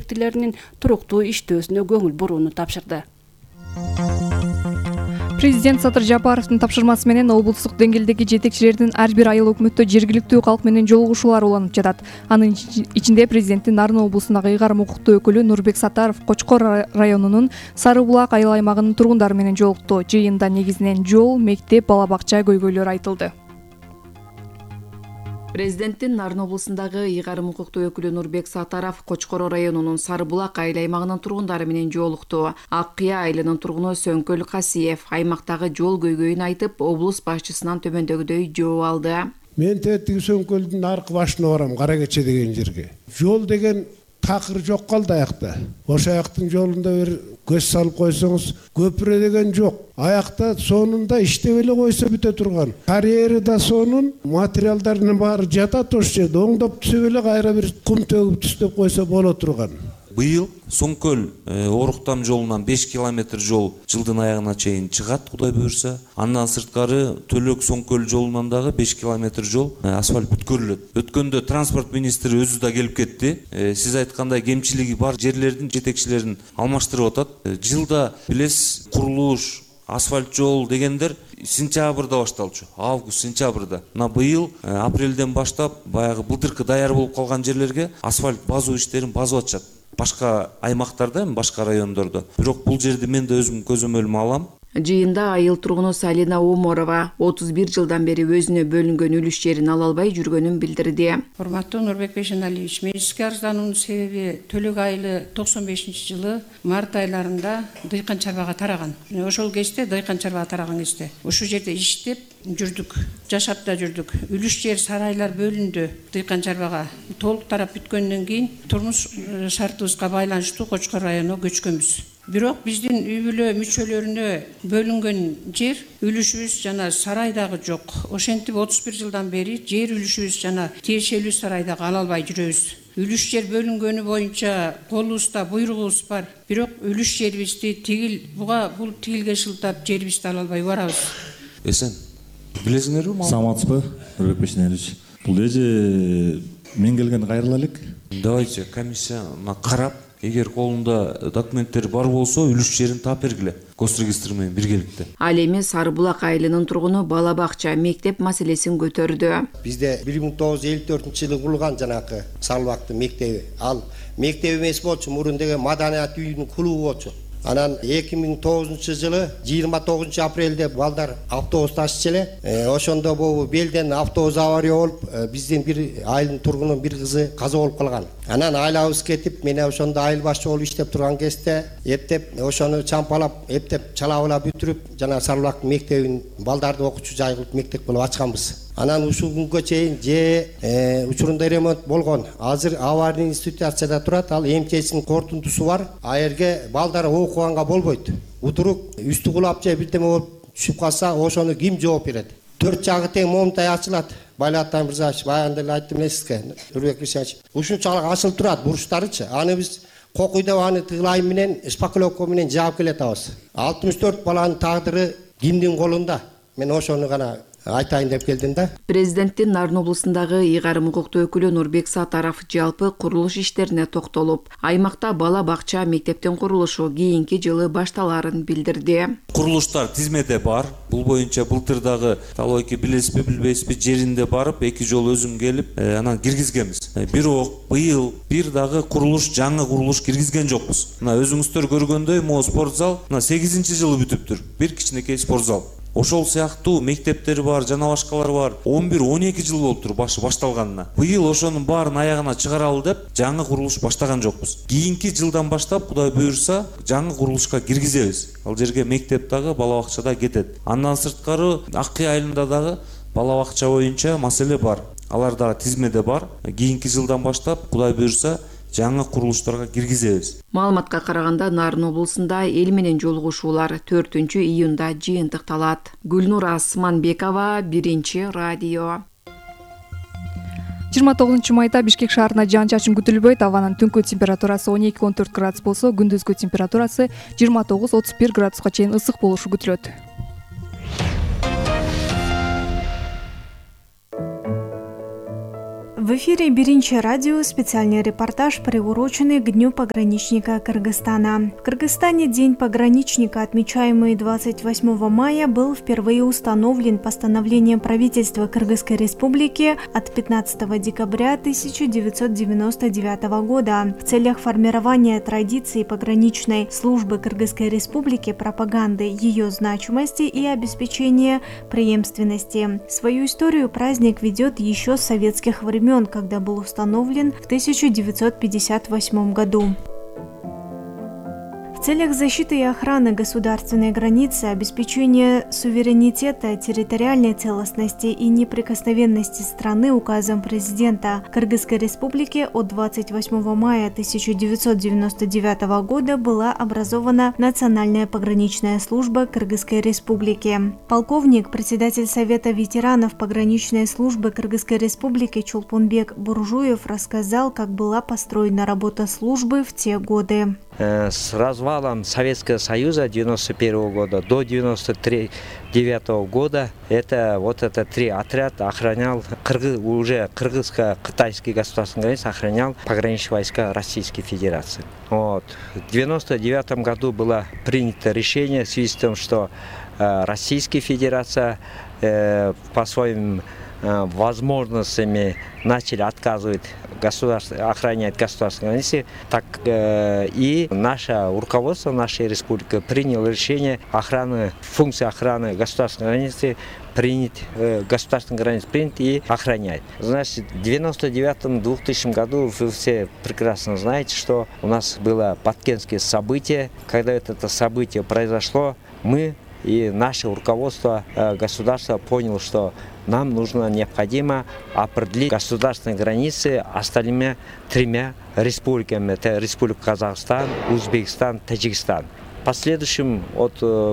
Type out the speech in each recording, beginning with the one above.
объектилеринин туруктуу иштөөсүнө көңүл бурууну тапшырды. Президент Садыр Жапаровдун тапшырмасы менен облустук деңгээлдеги жетекчилердин ар бир айыл өкмөттө жергиликтүү калк менен жолугушуулар уланып жатат. Анын ичинде президенттин Нарын облусундагы ыйгарым укуктуу өкүлү Нурбек Сатаров Кочкор районунун Сары Булак айыл аймагынын тургундары менен жолукту. Жыйында негизинен жол, мектеп, бала бакча көйгөйлөрү айтылды. Президенттин Нарын облусундагы ыйгарым укуктуу өкүлү Нурбек Сатаров Кочкор районунун Сары Булак айыл аймагынын тургундары менен жолукту. Ак Кыя айылынын тургуну Сөңкөл Касиев аймактагы жол көйгөйүн айтып, облус башчысынан төмөндөгүдөй жооп алды. Мен тетиги Сөңкөлдүн аркы башына барам, Кара Кече деген жерге. Жол деген такыр жок калды аякта. Ошо аяктын жолунда бир көз салып койсоңуз, көпүрө деген жок. Аякта сонунда иштеп эле койсо бүтө турган. Карьери да сонун, материалдардын баары жатат ошол жерде. Оңдоп түзөп эле кайра бир кум төгүп түстөп койсо боло турган. Быйыл Соңкөл Оруктам жолунан 5 километр жол жылдын аягына чейин чыгат, Кудай буюрса. Андан сырткары Төлөк Соңкөл жолунан дагы 5 километр жол асфальт бүткөрүлөт. Өткөндө транспорт министри өзү да келип кетти. Сиз айткандай кемчилиги бар жерлердин жетекчилерин алмаштырып атат. Жылда билесиз, курулуш, асфальт жол дегендер сентябрда башталчу. Август, сентябрда. Быйыл апрелден баштап баягы былтыркы даяр болуп калган жерлерге асфальт базуу иштерин базып атышат. Башка аймактарда, башка райондордо. Бирок бул жерди мен да өзүм көзөмөлүмө алам. Жыйында айыл тургуну Салина Оморова 31 жылдан бери өзүнө бөлүнгөн үлүш жерин ала албай жүргөнүн билдирди. Урматтуу Нурбек Бейшеналиевич, мен сизге арыздануунун себеби Төлөк айылы 95-жылы март айларында дыйкан чарбага тараган. Ошол кезде дыйкан чарбага тараган кезде ушул жерде иштеп жүрдүк, жашап да жүрдүк. Үлүш жер сарайлар бөлүндү дыйкан чарбага. Толук тарап бүткөндөн кийин турмуш шартыбызга байланыштуу Кочкор районуна көчкөнбүз. Бирок биздин үй бүлө мүчөлөрүнө бөлүнгөн жер үлүшүбүз жана сарайдагы жок. Ошентип 31 жылдан бери жер үлүшүбүз жана тиешелүү сарайдагы ала албай жүрөбүз. Үлүш жер бөлүнгөнү боюнча колубузда буйругубуз бар. Бирок үлүш жерибизди буга бул тигилге шылтап жерибизди ала албай барабыз. Эсен, билесиңерби? Саламатсызбы, Нурбек Бейшеналиевич? Бул эже мен келгенде кайрыла элек. Давайте комиссияны карап, эгер колунда документтер бар болсо, үлүш жерин таап бергиле. Госрегистр менен биргеликте. Ал эми Сары Булак айылынын тургуну бала бакча, мектеп маселесин көтөрдү. Бизде 1954-жылы курулган жанакы Сары Булактын мектеби. Ал мектеп эмес болчу, мурун деген маданият үйүнүн клубу болчу. Анан 2009-жылы 29 апрелде балдар автобус ташчу эле. Ошондо бул белден автобус авария болуп, биздин бир айылдын тургунунун бир кызы каза болуп калган. Анан айлабыз кетип, мен ошондо айыл башчы болуп иштеп турган кезде эптеп ошону чампалап, эптеп чалабыла бүтүрүп, жана Сары Булактын мектебин балдарды окуучу жай кылып мектеп кылып ачканбыз. Анан ушул күнгө чейин учурунда ремонт болгон. Азыр аварийный ситуацияда турат. Ал МЧСнин корутундусу бар. А жерге балдар окуганга болбойт. Утурук үстү кулап же бирдеме болуп түшүп калса, ошону ким жооп берет? 4 жагы тең момунтай ачылат. Байлаттан Мырзаевич, баягында эле айттым эле Нурбек Бейшеналиевич. Ушунчалык ачылып турат бурчтарычы. Аны биз кокуйдап аны тыглайм менен, шпаклевка менен жаап келатабыз. 64 баланын тагдыры кимдин колунда? Мен ошону гана айтайын деп келдим да. Президенттин Нарын облусундагы ыйгарым укуктуу өкүлү Нурбек Сатаров жалпы курулуш иштерине токтолуп, аймакта бала бакча, мектептин курулушу кийинки жылы башталарын билдирди. Курулуштар тизмеде бар. Бул боюнча былтырдагы талойки билесизби, билбейсизби, жеринде барып, 2 жол өзүм келип, анан киргизгенбиз. Бирок быйыл бир дагы курулуш, жаңы курулуш киргизген жокпуз. Мына өзүңүздөр көргөндөй, могу спортзал 8-жылы бүтүптүр. Бир кичинекей спортзал. Ошол сыяктуу мектептер бар, жана башкалар бар. 11-12 жыл болуптур башталганына. Быйыл ошонун баарын аягына чыгаралы деп, жаңы курулуш баштаган жокпуз. Кийинки жылдан баштап, Кудай буюрса, жаңы курулушка киргизебиз. Ал жерге мектеп дагы, бала бакча да кетет. Андан сырткары Ак Кыя айылында дагы бала бакча боюнча маселе бар. Алар дагы тизмеде бар. Кийинки жылдан баштап, Кудай буюрса, жаңы курулуштарга киргизебиз. Маалыматка караганда Нарын облусунда эл менен жолугушуулар 4-июнда жыйынтыкталат. Гүлнур Асманбекова, 1-радио. 29-майда Бишкек шаарына жаан-чачын күтүлбөйт. Абанын түнкү температурасы 12-14 градус болсо, күндүзгү температурасы 29-31 градуска чейин ысык болушу күтүлөт. В эфире «Биринчи радио», специальный репортаж, приуроченный к Дню пограничника Кыргызстана. В Кыргызстане День пограничника, отмечаемый 28 мая, был впервые установлен постановлением правительства Кыргызской Республики от 15 декабря 1999 года в целях формирования традиций пограничной службы Кыргызской Республики, пропаганды ее значимости и обеспечения преемственности. Свою историю праздник ведет еще с советских времен, когда был установлен в 1958 году. В целях защиты и охраны государственной границы, обеспечения суверенитета, территориальной целостности и неприкосновенности страны указом президента Кыргызской Республики от 28 мая 1999 года была образована Национальная пограничная служба Кыргызской Республики. Полковник, председатель Совета ветеранов пограничной службы Кыргызской Республики Чулпунбек Буржуев рассказал, как была построена работа службы в те годы. С развалом Советского Союза 1991 года до 1999 года это три отряда охранял уже кыргызско-китайский государственный границ, охранял пограничные войска Российской Федерации. В 1999 году было принято решение в связи с тем, что Российская Федерация по своим возможностями начали отказывать охранять государственные границы, так и наше руководство нашей республики приняло решение функции охраны государственной границы принять и охранять. Значит, в 1999-2000 году вы все прекрасно знаете, что у нас было Баткенское событие. Когда это событие произошло, мы и наше руководство государства поняло, что нам необходимо определить государственные границы остальными тремя республиками. Это Республика Казахстан, Узбекистан, Таджикистан. В последующем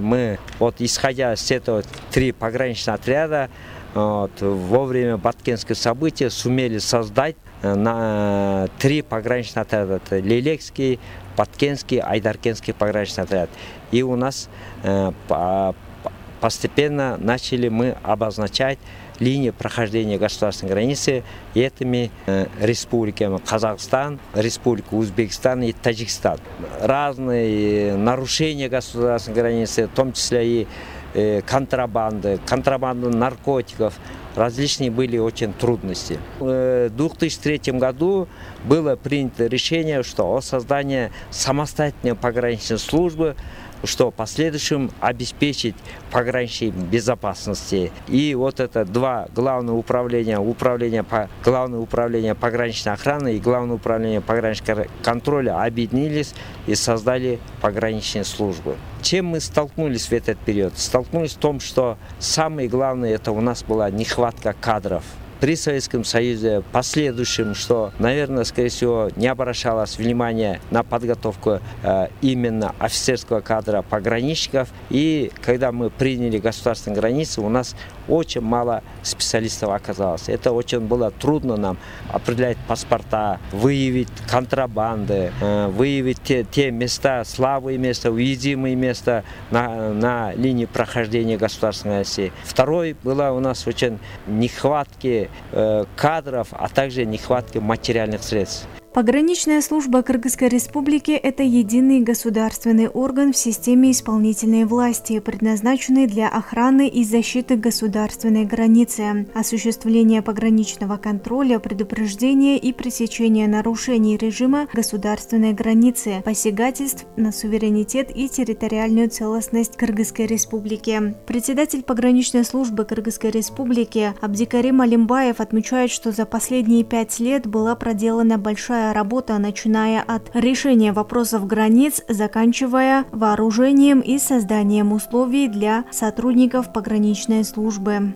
мы, исходя из этого, три пограничных отряда во время Баткенского события сумели создать три пограничных отряда. Это Лилекский, Баткенский, Айдаркенский пограничный отряд. И у нас постепенно начали мы обозначать линии прохождения государственной границы этими республиками: Казахстан, Республика Узбекистан и Таджикистан. Разные нарушения государственной границы, в том числе и контрабанды наркотиков, различные были очень трудности. В 2003 году было принято решение, о создании самостоятельной пограничной службы, что в последующем обеспечить пограничной безопасности. И это два главных управления, Главное управление пограничной охраны и Главное управление пограничного контроля объединились и создали пограничные службы. Чем мы столкнулись в этот период? Столкнулись в том, что самое главное, это у нас была нехватка кадров. При Советском Союзе последующем, что, наверное, скорее всего, не обращалось внимания на подготовку именно офицерского кадра пограничников. И когда мы приняли государственные границы, у нас очень мало специалистов оказалось. Это очень было трудно нам определять паспорта, выявить контрабанды, выявить те места, слабые места, уязвимые места на линии прохождения государственной границы. Второй была у нас очень нехватки кадров, а также нехватки материальных средств. Пограничная служба Кыргызской Республики – это единый государственный орган в системе исполнительной власти, предназначенный для охраны и защиты государственной границы, осуществления пограничного контроля, предупреждения и пресечения нарушений режима государственной границы, посягательств на суверенитет и территориальную целостность Кыргызской Республики. Председатель пограничной службы Кыргызской Республики Абдикарим Алимбаев отмечает, что за последние 5 лет была проделана большая работа, начиная от решения вопросов границ, заканчивая вооружением и созданием условий для сотрудников пограничной службы.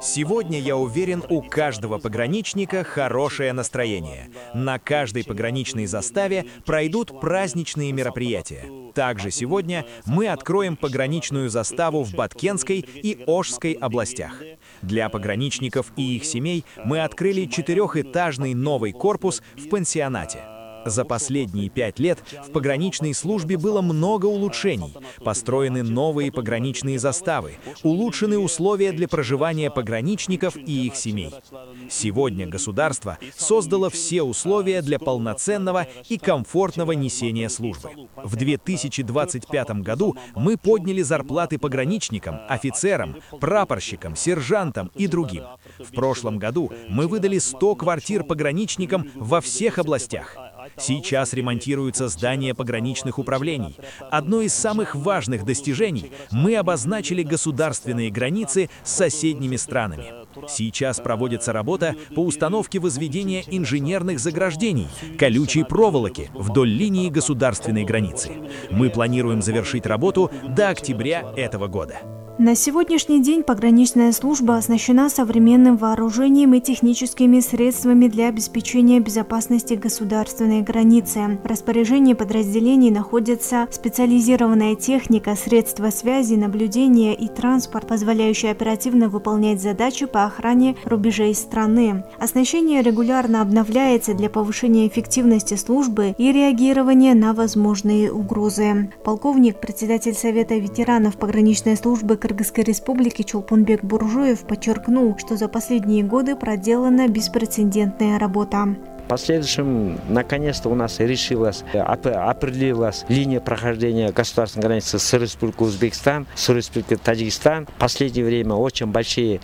Сегодня, я уверен, у каждого пограничника хорошее настроение. На каждой пограничной заставе пройдут праздничные мероприятия. Также сегодня мы откроем пограничную заставу в Баткенской и Ошской областях. Для пограничников и их семей мы открыли 4-этажный новый корпус в пансионате. За последние 5 лет в пограничной службе было много улучшений. Построены новые пограничные заставы, улучшены условия для проживания пограничников и их семей. Сегодня государство создало все условия для полноценного и комфортного несения службы. В 2025 году мы подняли зарплаты пограничникам, офицерам, прапорщикам, сержантам и другим. В прошлом году мы выдали 100 квартир пограничникам во всех областях. Сейчас ремонтируются здания пограничных управлений. Одно из самых важных достижений – мы обозначили государственные границы с соседними странами. Сейчас проводится работа по установке возведения инженерных заграждений, колючей проволоки вдоль линии государственной границы. Мы планируем завершить работу до октября этого года. На сегодняшний день пограничная служба оснащена современным вооружением и техническими средствами для обеспечения безопасности государственной границы. В распоряжении подразделений находится специализированная техника, средства связи, наблюдения и транспорт, позволяющие оперативно выполнять задачи по охране рубежей страны. Оснащение регулярно обновляется для повышения эффективности службы и реагирования на возможные угрозы. Полковник, председатель Совета ветеранов пограничной службы Кыргызской Республики Чолпонбек Буржуев подчеркнул, что за последние годы проделана беспрецедентная работа. В последующем, наконец-то, у нас определилась линия прохождения государственной границы с Республикой Узбекистан, с Республикой Таджикистан. В последнее время очень большие,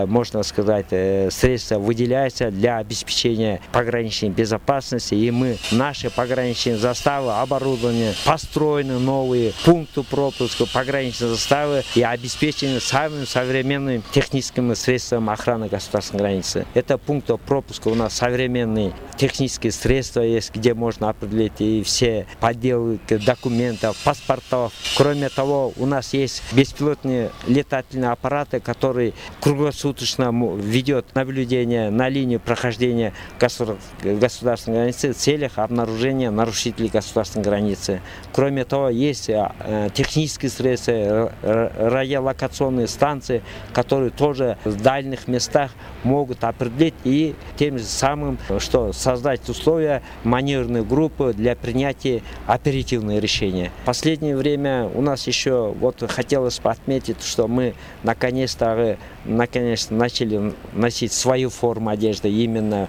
можно сказать, средства выделяются для обеспечения пограничной безопасности. И наши пограничные заставы, оборудование, построены новые пункты пропуска, пограничные заставы и обеспечены самыми современными техническими средствами охраны государственной границы. Это пункты пропуска у нас современные. Технические средства есть, где можно определить и все подделки документов, паспортов. Кроме того, у нас есть беспилотные летательные аппараты, которые круглосуточно ведет наблюдение на линии прохождения государственной границы в целях обнаружения нарушителей государственной границы. Кроме того, есть технические средства, радиолокационные станции, которые тоже в дальних местах могут определить и тем же самым, что создать условия маневренной группы для принятия оперативных решений. В последнее время у нас еще хотелось бы отметить, что мы наконец-то начали носить свою форму одежды именно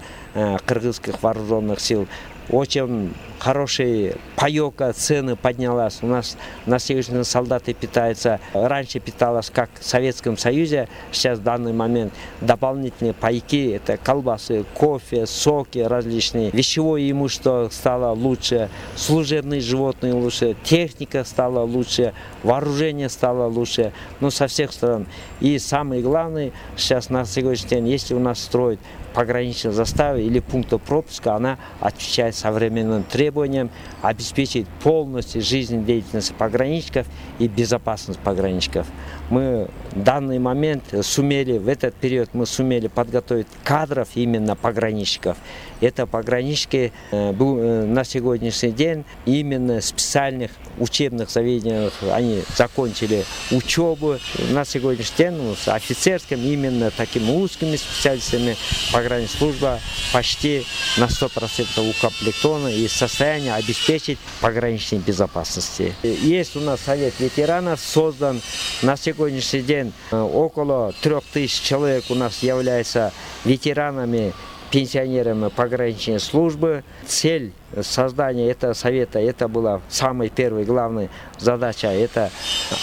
кыргызских вооруженных сил. Очень хорошая паёка, цены поднялась. У нас на сегодняшний день солдаты питаются. Раньше питалось как в Советском Союзе. Сейчас в данный момент дополнительные пайки. Это колбасы, кофе, соки различные. Вещевое имущество стало лучше. Служебные животные лучше. Техника стала лучше. Вооружение стало лучше. Со всех сторон. И самое главное, сейчас на сегодняшний день, если у нас строят пограничной заставы или пункта пропуска, она отвечает современным требованиям, обеспечить полностью жизнедеятельность пограничников и безопасность пограничников. Мы в данный момент в этот период мы сумели подготовить кадров именно пограничников. Это пограничники на сегодняшний день именно в специальных учебных заведениях они закончили учебу. На сегодняшний день с офицерским именно такими узкими специалистами пограничная служба почти на 100% укомплектована и в состоянии обеспечить пограничной безопасности. Есть у нас Совет ветеранов создан. На сегодняшний день около 3000 человек у нас являются ветеранами, пенсионерами пограничной службы. Цель создания этого совета, это была самая первая главная задача, это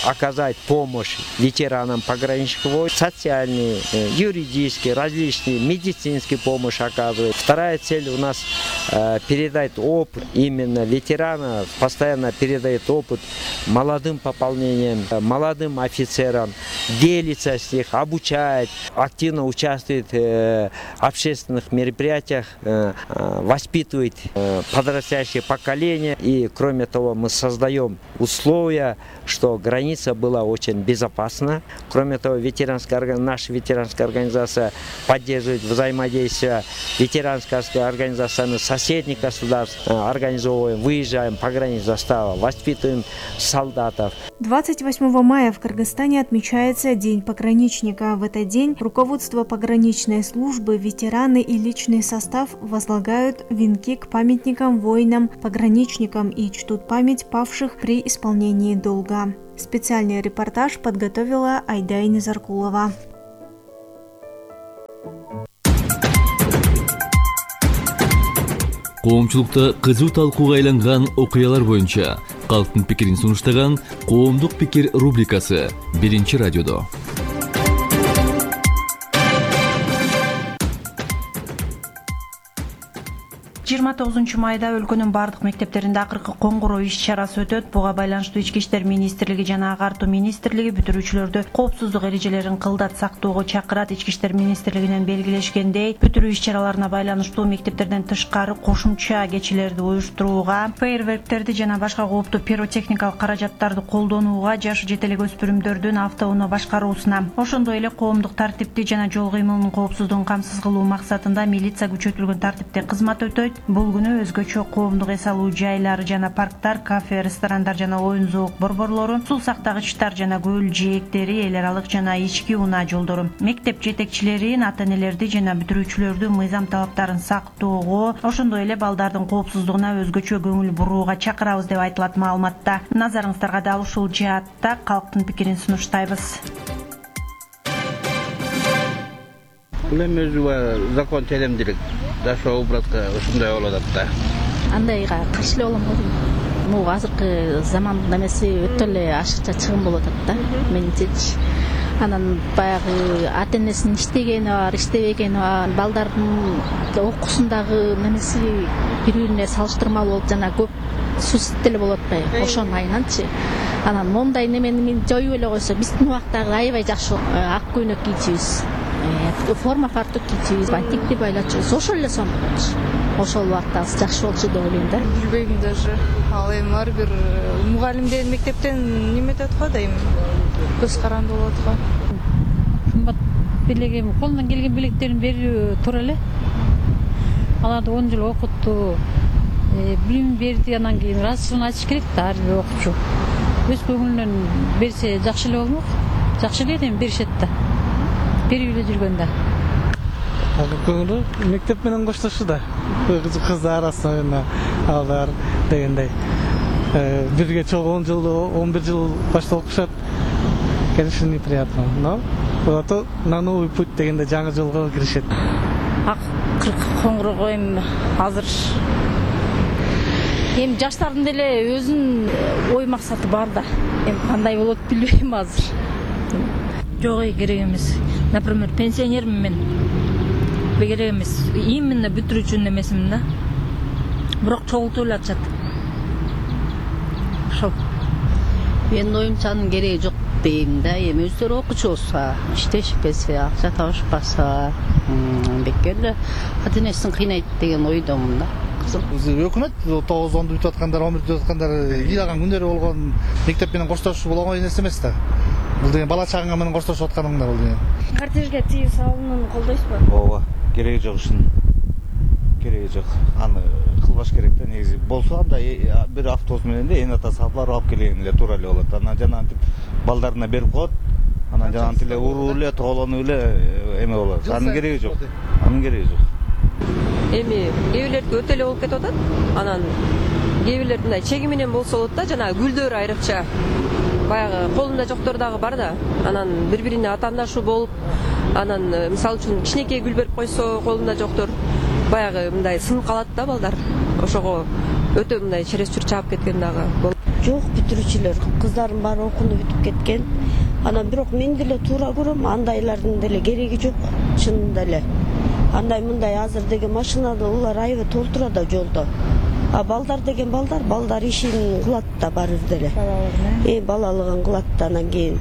оказать помощь ветеранам пограничников, социальные, юридические, различные, медицинские помощь оказывать. Вторая цель у нас передать опыт именно ветерана, постоянно передает опыт молодым пополнениям, молодым офицерам, делится с них, обучает, активно участвует в общественных мероприятиях, воспитывает подрастающее поколение. И кроме того, мы создаем условия, что граница была очень безопасна. Кроме того, наша ветеранская организация поддерживает взаимодействие ветеранской организации соседних государств, организовываем, выезжаем по границе застава, воспитываем солдатов. 28 мая в Кыргызстане отмечается День пограничника. В этот день руководство пограничной службы, ветераны и личный состав возлагают венки к памятникам защитникам, воинам, пограничникам и чтут память павших при исполнении долга. Специальный репортаж подготовила Айдай Незаркулова. Коомчулукта кызуу талкууга айланган окуялар боюнча калктын пикирин сунуштаган Коомдук пикир рубрикасы 1-радиодо. 29 майда өлкөнүн бардык мектептеринде акыркы коңгуроо иш-чарасы өтөт. Буга байланыштуу Ички иштер министрлиги жана Агартуу министрлиги бүтүрүүчүлөрдү коопсуздук эрежелерин кылдат сактоого чакырат. Ички иштер министрлигинен белгилешкендей, бүтүрүү иш-чараларына байланыштуу мектептерден тышкары кошумча кечелерди уюштурууга, фейерверктерди жана башка кооптуу пиротехникалык каражаттарды колдонууга, жашы жете элек өспүрүмдөрдүн автоунаа башкаруусуна, ошондой эле коомдук тартипти жана жол кыймылынын коопсуздугун камсыз кылуу максатында милиция күчөтүлгөн тартипте кызмат өтөйт. Бул күнү өзгөчө коомдук эс алуу жайлары жана парктар, кафе, ресторандар жана оюн зоок борборлору, суу сактагычтар жана көл жээктери, эл аралык жана ички унаа жолдору, мектеп жетекчилерин, ата-энелерди жана бүтүрүүчүлөрдү мыйзам талаптарын сактоого, ошондой эле балдардын коопсуздугуна өзгөчө көңүл бурууга чакырабыз деп айтылат маалыматта. Назарыңыздарга дал ушул жаатта калктын пикирин сунуштайбыз. Бул эми өзү закон телемдилик жашоо убратка ушундай болуп атат да. Андайга каршы эле болом го. Могу азыркы замандын эмеси өтө эле ашыкча чыгым болуп атат да, менимчечи. Анан баягы ата-энесинин иштегени бар, иштебегени бар, балдардын окуусундагы немеси бири-бирине салыштырмалуу болуп жана көп сусит деле болуп атпайбы, ошонун айынан,чы. Анан мондай немени жоюп эле койсо, биздин убактагы аябай жакшы ак көйнөк кийчүбүз. Форма фартук кийчүбүз, бантикти байлачубуз, ошол эле сонун. Ошол убактагы жакшы болчу деп ойлойм да. Билбейм даже. Ал эми ар бир мугалимден, мектептен неметет го дейм. Көз каранды болот го. Кымбат белегем, колунан келген белектерин берүү туура эле. Аларды 10 жыл окутту, билим берди, анан кийин ыраазычылыгын айтыш керек да ар бир окуучу. Өз көңүлүнөн берсе жакшы эле болмок. Жакшы эле эми беришет да. Берип эле жүргөндө. Көңүлү мектеп менен коштошуу да. Кыздар арасында алар дегендей. Бирге чогуу 10 жыл, 11 жыл башта окушат. Конечно, неприятно, но вот на новый путь дегенде жаңы жолго киришет. Коңгуроо эми азыр эми жаштардын деле өзүнүн ой максаты бар да. Эми кандай болот билбейм азыр. Жок, керек эмес. Например, пенсионермин мен. Керек эмес. Именно бүтүрүүчүнүн эмесимин да. Бирок чогултуп эле атышат. Ошол. Менин оюмча анын кереги жок дейм да. Эми өздөрү окуучу болсо, иштешпесе, акча табышпаса, бекер эле ата-энесин кыйнайт деген ойдомун да. Өкмөт 9-10 бүтүп аткандар, 11 бүтүп аткандар ыйлаган күндөрү болгон, мектеп менен коштошуу болгон нерсе эмес да. Бул деген бала чагаңа менен коштошуп атканыңда бул деген. Кортежге тыюу салуунун колдойсузбу? Ооба, кереги жок ушунун. Кереги жок. Аны кылбаш керек да негизи. Болсо анда бир автобус менен да эне ата салып алып келген эле туура эле болот. Анан жана антип балдарына берип коет. Анан жана антип эле уруу эле, тоолонуп эле эме болот. Анын кереги жок. Анын кереги жок. Эми кээ бирлердики өтө эле болуп кетип атат. Анан кээ бирлердин мындай чеги менен болсо болот да, жана гүлдөр айрыкча. Баягы колунда жоктор дагы бар да. Анан бири-бирине атаандашуу болуп, анан мисалы үчүн кичинекей гүл берип койсо колунда жоктор баягы мындай сынып калат да балдар. Ошого өтө мындай чересчур чаап кеткен дагы болот. Жок, бүтүрүүчүлөр кыздардын баары окууну бүтүп кеткен. Анан бирок мен деле туура көрөм, андайлардын деле кереги жок, чынында эле. Андай мындай азыр деген машинада улар аябай толтура да жолдо. А балдар деген балдар ишин кылат да баары деле. Балалыгын кылат да, анан кийин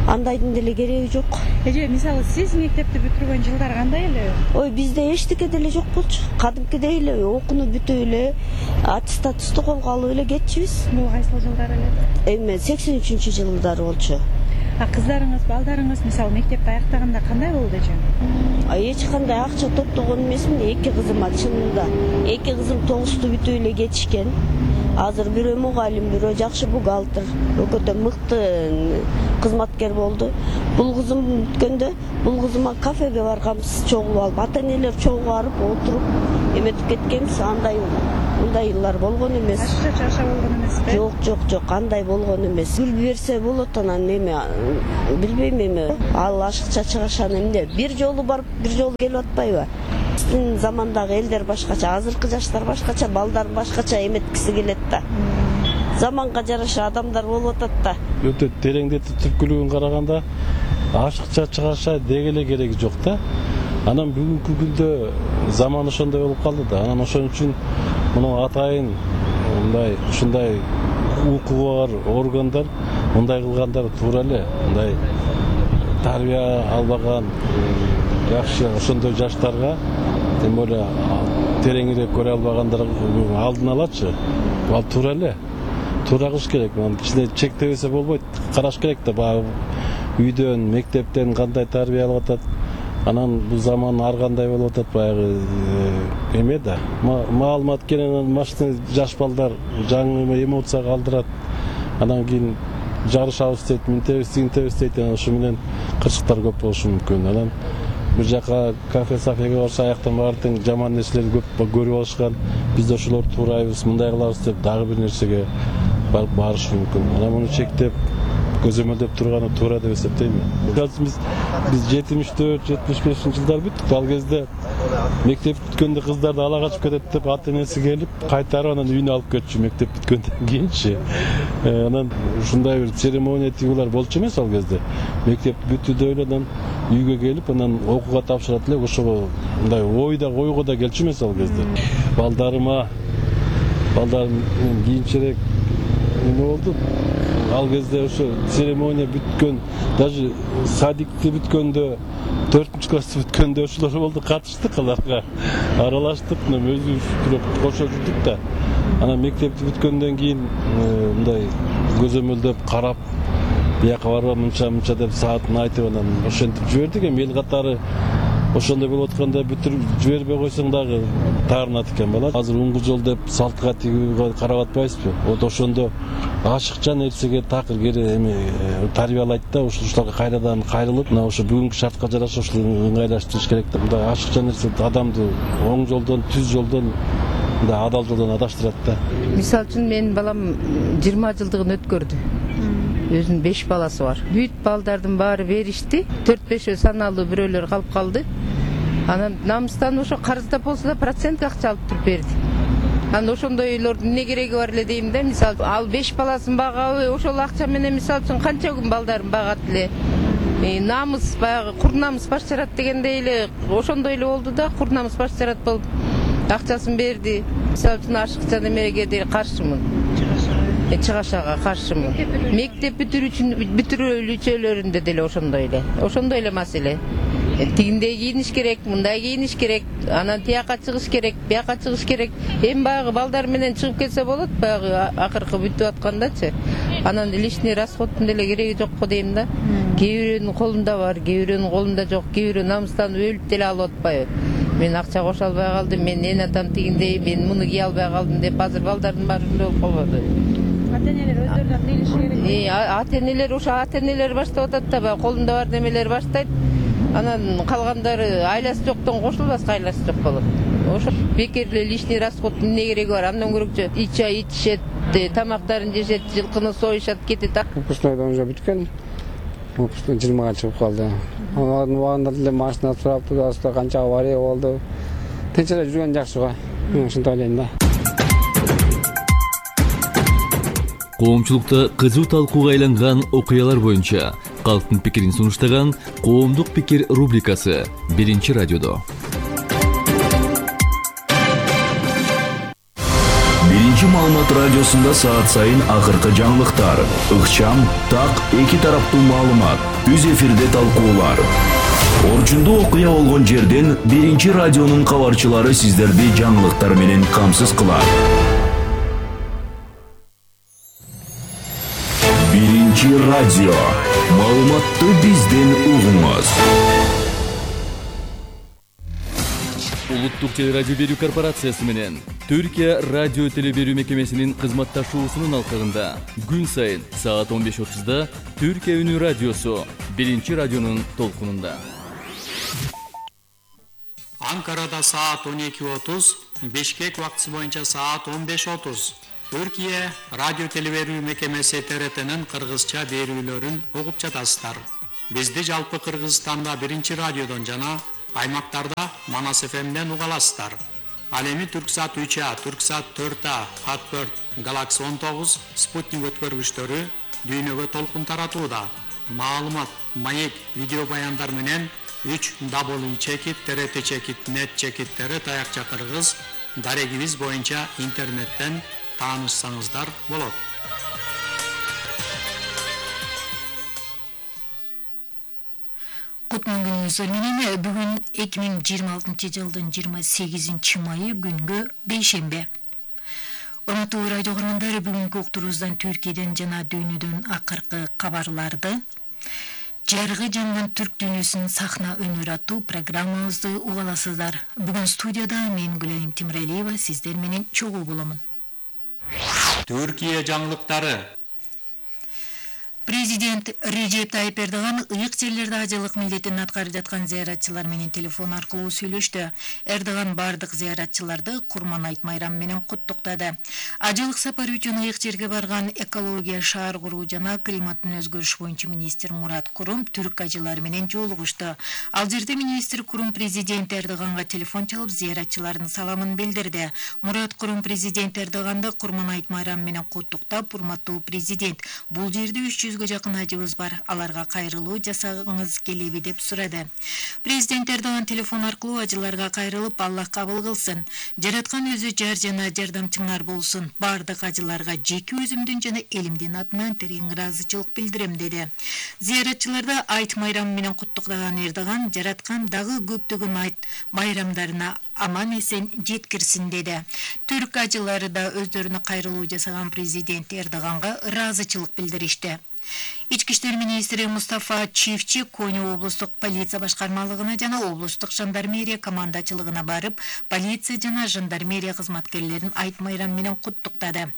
андайдын деле кереги жок. Эже, мисалы сиз мектепти бүтүргөн жылдар кандай эле? Ой, бизде эчтеке деле жок болчу. Кадимкидей эле окууну бүтүп эле, аттестатты колго алып эле кетчүбүз. Бул кайсыл жылдар эле? Эми 83-жылдары болчу. А кыздарыңыз, балдарыңыз мисалы мектепти аяктаганда кандай болду эже? Эч кандай акча топтогон эмесмин, 2 кызым чынында. 2 кызым 9-ту бүтүп эле кетишкен. Азыр бирөө мугалим, бирөө жакшы бухгалтер, өкөтө мыкты кызматкер болду. Бул кызым бүткөндө, бул кызыма кафеге барганбыз, чогулуп алып, ата-энелер чогуу барып отуруп эметип кеткенбиз. Мындай йыллар болгон эмес. Ашыкча чыгаша болгон эмеспи? Жок, андай болгон эмес. Гүл берсе болот, анан эме билбейм эме. Ал ашыкча чыгашаны эмне? Бир жолу барып, бир жолу келип атпайбы? Биздин замандагы элдер башкача, азыркы жаштар башкача, балдар башкача эметкиси келет да. Заманга жараша адамдар болуп атат да. Өтө тереңдетип түпкүлүгүн караганда ашыкча чыгаша деги эле кереги жок да. Анан бүгүнкү күндө заман ошондой болуп калды да. Анан ошон үчүн мына атайын ушундай укугу бар органдар мындай кылгандар туура эле. Мындай тарбия албаган жакшы ошондой жаштарга, тем более тереңирээк көрө албагандарга алдын алачы. Ал туура эле. Туура кылыш керек. Кичине чектебесе болбойт. Караш керек да, баягы үйдөн, мектептен кандай тарбия алып атат. Анан бул заман ар кандай болуп атат, баягы эме да. Маалымат кенен машина жаш балдар жаңы эмоция калтырат. Анан кийин жарышабыз дейт, минтебиз дейт. Ошо менен кырсыктар көп болушу мүмкүн. Анан бир жака кафе-сафеге барса, аяктан баардык жаман нерселерди көп көрүп алышкан. Биз да ошолорду туурайбыз, мындай кылабыз деп дагы бир нерсеге барышы мүмкүн. Анан муну чектеп көзөмөлдөп турганы туура деп эсептейм. Биз 74-75 жылдар бүттүк. Ал кезде мектеп бүткөндө кыздарды ала качып кетет деп ата-энеси келип, кайтарып анан үйүнө алып кетчү мектеп бүткөндөн кийинчи. Анан ушундай бир церемония тигулар болчу эмес ал кезде. Мектеп бүтүүдө эле анан үйгө келип, анан окууга тапшырат эле, ошого мындай ойго да келчү эмес ал кезде. Балдарым кийинчерээк эме болду. Ал кезде ошо церемония бүткөн, даже садикти бүткөндө, 4-классты бүткөндө ошолор болду, катыштык аларга. Аралаштык, өзүбүз кошо жүрдүк да. Анан мектепти бүткөндөн кийин мындай көзөмөлдөп карап, бияка барба мынча деп саатын айтып анан ошентип жибердик. Эми эл катары ошондой болуп атканда бүтүрүп жибербей койсоң дагы таарынат экен бала. Азыр уңгу жол деп салтка тигүүгө карап атпайбызбы? Вот ошондо ашыкча нерсеге такыр эми тарбиялайт да, ушуларга кайрадан кайрылып, мына ошо бүгүнкү шартка жараша ушул ыңгайлаштырыш керек да. Мындай ашыкча нерсе адамды оң жолдон, түз жолдон, мындай адал жолдон адаштырат да. Мисалы үчүн менин балам 20 жылдыгын өткөрдү. Өзүнүн 5 баласы бар. Бүт балдардын баары беришти. 4-5 саналуу бирөөлөр калып калды. Анан намыстан ошо карыздап болсо да процент акча алып туруп берди. Анан ошондой үйлөрдүн эмне кереги бар эле дейм да. Мисалы ал 5 баласын багабы, ошол акча менен мисалы үчүн канча күн балдарын багат эле. Намыс баягы кур намыс баш жарат дегендей эле ошондой эле болду да. Кур намыс баш жарат болуп акчасын берди. Мисалы үчүн ашыкча немеге деле каршымын. Чыгашага каршымын. Мектеп бүтүрүүчүлөрүндө деле ошондой эле маселе. Тигиндей кийиниш керек, мындай кийиниш керек, анан тияка чыгыш керек, бияка чыгыш керек. Эми баягы балдар менен чыгып кетсе болот, баягы акыркы бүтүп аткандачы. Анан лишний расходтун деле кереги жок го дейм да. Кээ бирөөнүн колунда бар, кээ бирөөнүн колунда жок, кээ бирөө намыстан өлүп деле алып атпайбы. Мен акча кошо албай калдым, мен эн атам тигиндей, мен муну кие албай калдым деп азыр балдардын баары ушундай болуп калбады. Ата-энелер өздөрү да кыйлышы керек. Ата-энелер ошо ата-энелер баштап атат да, баягы колунда бар немелер баштайт. Анан калгандары айласы жоктон кошулбаска айласы жок болот. Ошо бекер эле лишний расход эмне кереги бар? Андан көрөкчү чай ичишет, тамактарын жешет, жылкыны союшат, кетет. Выпускнойдон уже бүткөн. Выпускной 20-га чыгып калды. Алардын убагында деле машина сурап турасыздар, канча авария болду. Тинч эле жүргөн жакшы го. Мен ушинтип ойлойм да. Коомчулукта кызуу талкууга айланган окуялар боюнча калктын пикирин сунуштаган Коомдук пикир рубрикасы 1-радиодо. 1-маалымат радиосунда саат сайын акыркы жаңылыктар, ыкчам, так, эки тараптуу маалымат, үз эфирде талкуулар. Орчундуу окуя болгон жерден 1-радионун кабарчылары сиздерди жаңылыктар менен камсыз кылат. 1-радио. Маалыматты бизден угуңуз. Улуттук телерадио берүү корпорациясы менен Түркия радио телеберүү мекемесинин кызматташуусунун алкагында күн сайын саат 15:30 Түркия үнү радиосу биринчи радионун толкунунда. Анкарада саат 12:30, Бишкек убактысы боюнча саат 15:30. Түркия радио телеберүү мекемеси ТРТнын кыргызча берүүлөрүн угуп жатасыздар. Бизди жалпы Кыргызстанда биринчи радиодон жана аймактарда Манас ФМден уга аласыздар. Ал эми Түрксат 3А, Түрксат 4А, Хат4, Галакси 19, Спутник өткөргүчтөрү дүйнөгө толкун таратууда. Маалымат, маек, видео баяндар менен 3W чекит, TRT чекит, нет чекиттери таякча кыргыз дарегибиз боюнча интернеттен таанышсаңыздар болот. Кутман күнүңүздөр менен бүгүн 2026 жылдын 28 майы күнгө бейшембе. Урматтуу радио көрөрмандар, бүгүнкү уктуруубуздан Түркияден жана дүйнөдөн акыркы кабарларды, жаргы жанган түрк дүйнөсүнүн сахна өнөрү аттуу программабызды угаласыздар. Бүгүн студияда мен Гүлайым Тимиралиева сиздер менен чогуу боломун. Түркия жаңылыктары. Президент Режеп Тайип Эрдоган ыйык жерлерде ажылык милдетин аткарып жаткан зыяратчылар менен телефон аркылуу сүйлөштү. Эрдоган бардык зыяратчыларды Курман айт майрамы менен куттуктады. Ажылык сапары үчүн ыйык жерге барган экология, шаар куруу жана климаттын өзгөрүшү боюнча министр Мурат Курум түрк ажылары менен жолугушту. Ал жерде министр Курум президент Эрдоганга телефон чалып зыяратчылардын саламын билдирди. Мурат Курум президент Эрдоганды Курман айт майрамы менен куттуктап, урматтуу президент, бул жерде 300 жакын ажыбыз бар, аларга кайрылуу жасагыңыз келеби деп сурады. Президент Эрдоган телефон аркылуу ажыларга кайрылып, Аллах кабыл кылсын, жараткан өзү жар жана жардамчыңар болсун, бардык ажыларга жеке өзүмдүн жана элимдин атынан терең ыраазычылык билдирем деди. Зыяратчыларды айт майрамы менен куттуктаган Эрдоган жараткан дагы көптөгөн айт майрамдарына аман эсен жеткирсин деди. Түрк ажылары да өздөрүнө кайрылуу жасаган президент Эрдоганга ыраазычылык билдиришти. Ички иштер министри Мустафа Чивчи Коня облустук полиция башкармалыгына жана облустук жандармерия командачылыгына барып, полиция жана жандармерия кызматкерлерин айт майрамы менен куттуктады.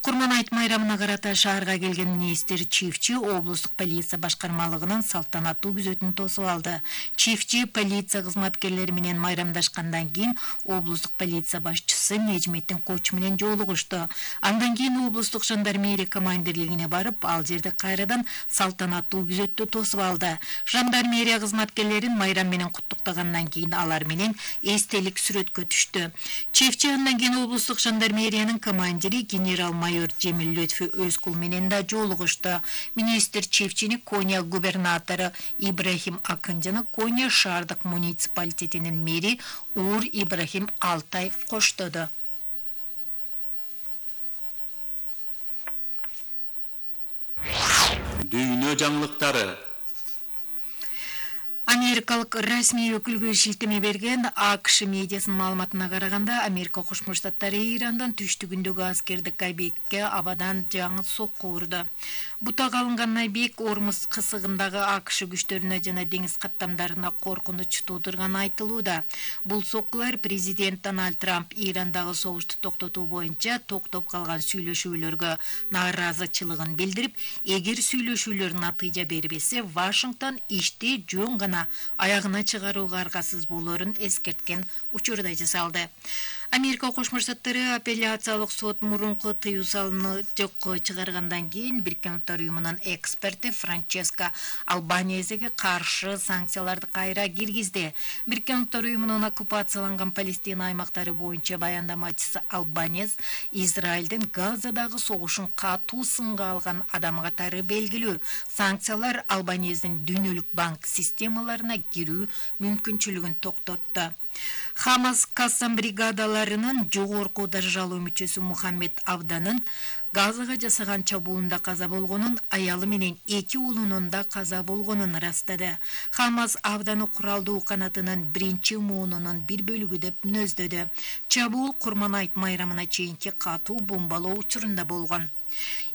Курман айт майрамына карата шаарга келген министр Чивчи облустук полиция башкармалыгынын салтанаттуу күзөтүн тосуп алды. Чивчи полиция кызматкерлери менен майрамдашкандан кийин облустук полиция башчысы Нежметтин Коч менен жолугушту. Андан кийин облустук жандармерия командирлигине барып, ал жерде кайрадан салтанаттуу күзөттү тосуп алды. Жандармерия кызматкерлерин майрам менен куттуктагандан кийин алар менен эстелик сүрөткө түштү. Чивчи андан кийин облустук жандармериянын командири генерал-майор Жемил Лөтфү Өзкул менен да жолугушту. Министр Чивчини Коня губернатору Ибрахим Акын жана Коня шаардык муниципалитетинин мэри Ур Ибрахим Алтай коштоду. Дүйнө жаңылыктары. Америкалык расмий өкүлгө шилтеме берген АКШ медиасынын маалыматына караганда, Америка Кошмо Штаттары Ирандан түштүгүндөгү аскердик объектке абадан жаңы сокку урду. Бутак алынган объект Ормуз кысыгындагы АКШ күчтөрүнө жана деңиз каттамдарына коркунуч туудурганы айтылууда. Бул соккулар президент Дональд Трамп Ирандагы согушту токтотуу боюнча токтоп калган сүйлөшүүлөргө нааразычылыгын билдирип, эгер сүйлөшүүлөр натыйжа бербесе, Вашингтон ишти жөн гана аягына чыгарууга аргасыз болоорун эскерткен учурда жасалды. Америка Кошмо Штаттары апелляциялык сот мурунку тыюу салууну жокко чыгаргандан кийин Бириккен Улуттар уюмунун эксперти Франческа Албанезеге каршы санкцияларды кайра киргизди. Бириккен Улуттар уюмунун оккупацияланган Палестина аймактары боюнча баяндамачысы Албанез Израилдин Газадагы согушун катуу сынга алган адам катары белгилүү. Санкциялар Албанездин дүйнөлүк банк системаларына кирүү мүмкүнчүлүгүн токтотту. Хамас Кассам бригадаларынын жогорку даражалуу мүчөсү Мухаммед Авданын Газага жасаган чабуулунда каза болгонун, аялы менен 2 уулунун да каза болгонун ырастады. Хамас Авданы куралдуу канатынын 1-чи муунунун бир бөлүгү деп мүнөздөдү. Чабуул Курман айт майрамына чейинки катуу бомбалоо учурунда болгон.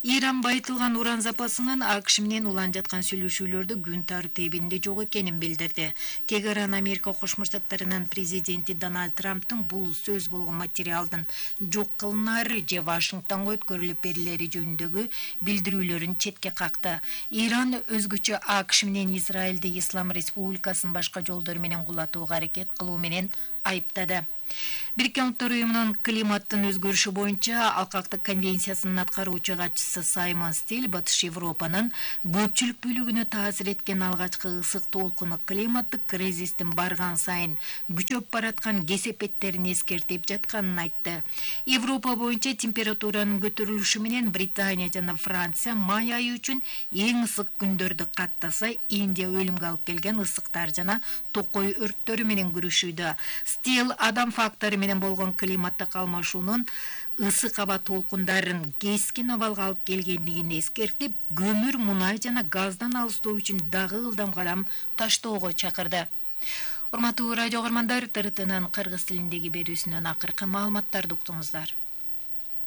Иран байытылган уран запасынын АКШ менен улан жаткан сүйлөшүүлөрдө күн тартибинде жок экенин билдирди. Тегеран Америка Кошмо Штаттарынын президенти Дональд Трамптын бул сөз болгон материалдын жок кылынары же Вашингтонго өткөрүлүп берилери жөнүндөгү билдирүүлөрүн четке какты. Иран өзгөчө АКШ менен Израилди Ислам Республикасынын башка жолдору менен кулатууга аракет кылуу менен айыптады. Бириккен Улуттар Уюмунун климаттын өзгөрүшү боюнча алкактык конвенциясынын аткаруучу катчысы Саймон Стиль Батыш Европанын көпчүлүк бөлүгүнө таасир эткен алгачкы ысык толкуну климаттык кризистин барган сайын күчөп бараткан кесепеттерин эскертип жатканын айтты. Европа боюнча температуранын көтөрүлүшү менен Британия жана Франция май айы үчүн эң ысык күндөрдү каттаса, Индия өлүмгө алып келген ысыктар жана токой өрттөрү менен күрөшүүдө. Стил адам фактору менен болгон климаттык алмашуунун ысык аба толкундарын кескин абалга алып келгендигин эскертип, көмүр, мунай жана газдан алыстоо үчүн дагы ылдам кадам таштоого чакырды. Урматтуу радио көрөрмандар, ТРТнын кыргыз тилиндеги берүүсүнөн акыркы маалыматтарды уктуңуздар.